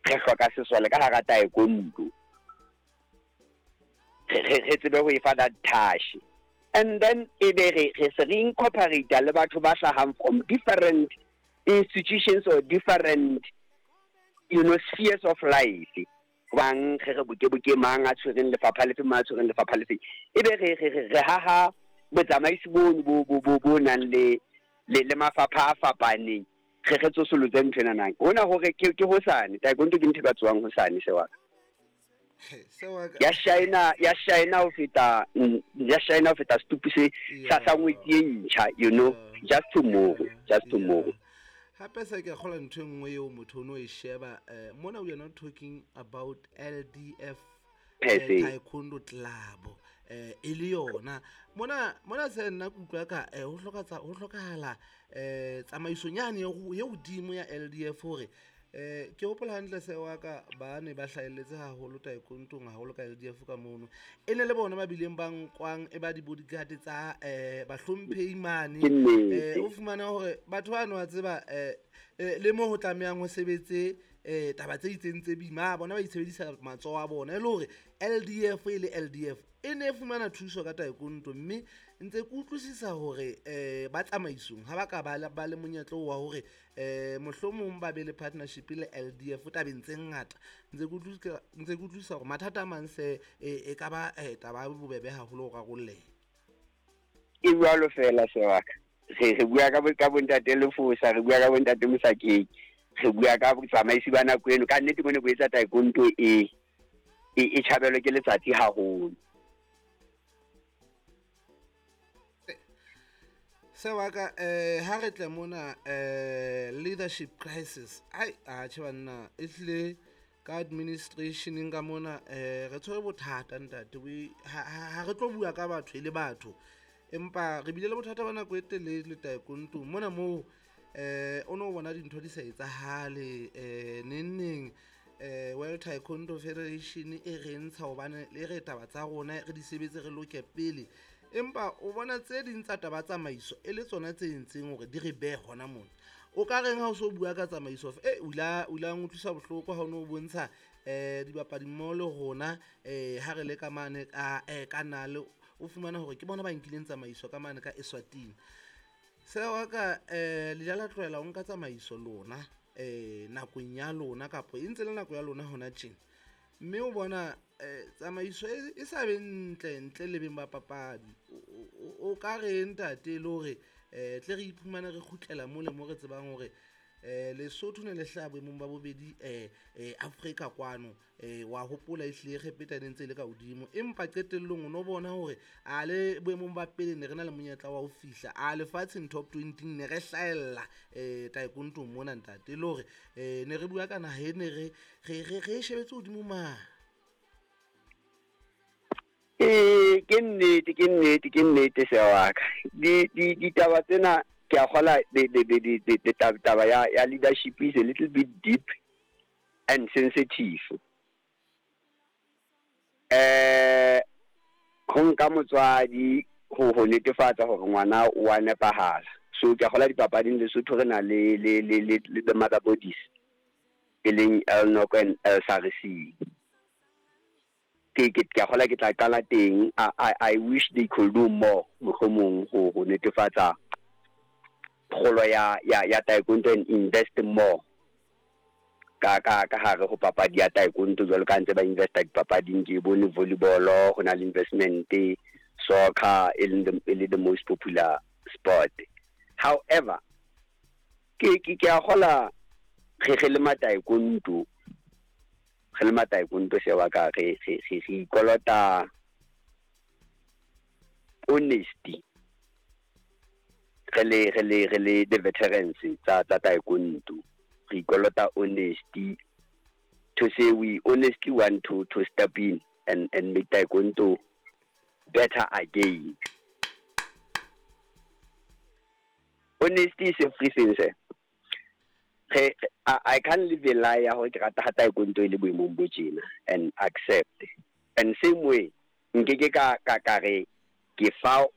Re hloka sesole ka hara taekwondo, re tsebe ho e fa that touch, and then e be re se re incorporate le batho ba hlahang from different institutions or different spheres of life. Bang re boke mang a tshwereng lefapha lefe, mang a tshwereng lefapha lefe, e be re haha botsamaisi bono bo nang le mafapha a fapaneng, re tsosolotse ntho ena nang hona hore ke hosane taekwondo ke ntho e ka tswang hosane se wa ka. Ya shine ho feta, ya shine ho feta setupu se sa ngwetsi e ntjha, just tomorrow, just tomorrow. Hape se ke kgola ntho e nngwe eo motho o no e sheba, mona we are not talking about LDF taekwondo club, e le yona mona se nna ke utlwa ka ho hlokahala tsamaisong yane ye hodimo ya LDF, hore ke hopola hantle se wa ka ba ne ba hlahelletse haholo taekwondong, haholo ka LDF ka mono, e ne le bona ba bileng ba nkwang e ba di-bodyguard tsa bahlomphehi mane. Ke nnete. O fumana hore batho bano wa tseba, le mo ho tlamehang ho sebetse taba tse itseng tse boima, bona ba itshebedisa matsoho a bona, e le hore LDF e le LDF e ne e fumana thuso ka taekwondo. Mme ntse ke utlwisisa hore ba tsamaisong ha ba ka ba le monyetla wa hore mohlomong ba be le partnership le LDF tabeng tse ngata. Ntse ke utlwisisa hore mathata a mang se e ka ba taba ya bobebe haholo ho rarolleha. E jwalo fela se wa ka. Re bua ka bontate Lefosa, re bua ka bontate Mosakeng, re bua ka botsamaisi ba nako eno. Ka nnete bone bo etsa taekwondo e tjhabelwe ke letsatsi haholo. Se wa ka, ha re tle mona, leadership crisis, ai a tjhe banna, e hlile ka administrationeng ka mona, re tshwere bothata ntate. Ha re tlo bua ka batho e le batho, empa re bile le bothata ba nako e telele taekwondong mona moo, o no bona dintho di sa etsahale, neng neng, World Taekwondo Federation e re ntsha hobane le re taba tsa rona re di sebetse, re loke pele, empa o bona tse ding tsa taba tsamaiso e le tsona tse entseng hore di re behe hona mona. O ka reng ha o so bua ka tsamaiso? O ile a utlwisa bohloko ha o no bontsha dibapadi mmoho le rona, ha re le ka mane ka nale, o fumana hore ke bona ba nkileng tsamaiso ka mane ka Eswatini. Se wa ka, le ile la tlohela ho nka tsamaiso lona, nakong ya lona, kapa e ntse le nako ya lona hona tjena, mme o bona tsamaiso e sa be ntle ntle le beng ba papadi. O ka re ntate, le hore tle re iphumane re kgutlela mole mo re tsebang hore Lesotho ne le hlaha boemong ba bobedi, Afrika kwano, wa hopola ehlile Egepeta ne ntse e le ka hodimo, empa qetellong o no bona hore a le boemong ba pele ne re na le monyetla wa ho fihla a lefatsheng top 20, ne re hlahella taekwondong mona ntate, e le hore ne re bua ka naha e ne re e shebetse hodimo mane. Ke nnete, ke nnete, ke nnete se wa ka. Ditaba tsena ke a kgola, the taba ya leadership is a little bit deep and sensitive. Ho nka motswadi ho netefatsa hore ngwana o wa nepahala. So ke a kgola dipapading Lesotho re na le the mother bodies e leng LNOC and LSRC. Ke a kgola ke tla qala teng. I wish they could do more mohlomong ho netefatsa kgolo ya taekwondo and invest more ka hare ho papadi ya taekwondo, jwalo ka ntse ba investa dipapading. Ke bone volleyball ho na le investment, soccer e leng e le the most popular sport. However, ke a kgola re le mataekwondo, re le mataekwondo se wa ka, re ikolota honesty, re le the veterans tsa taekwondo, re ikolota honesty to say we honestly want to step in and make taekwondo better again. Honesty is everything, sir. I can't live a lie ya hore ke rata ha taekwondo e le boemong bo tjena and accept. And same way, nkeke ka re ke fa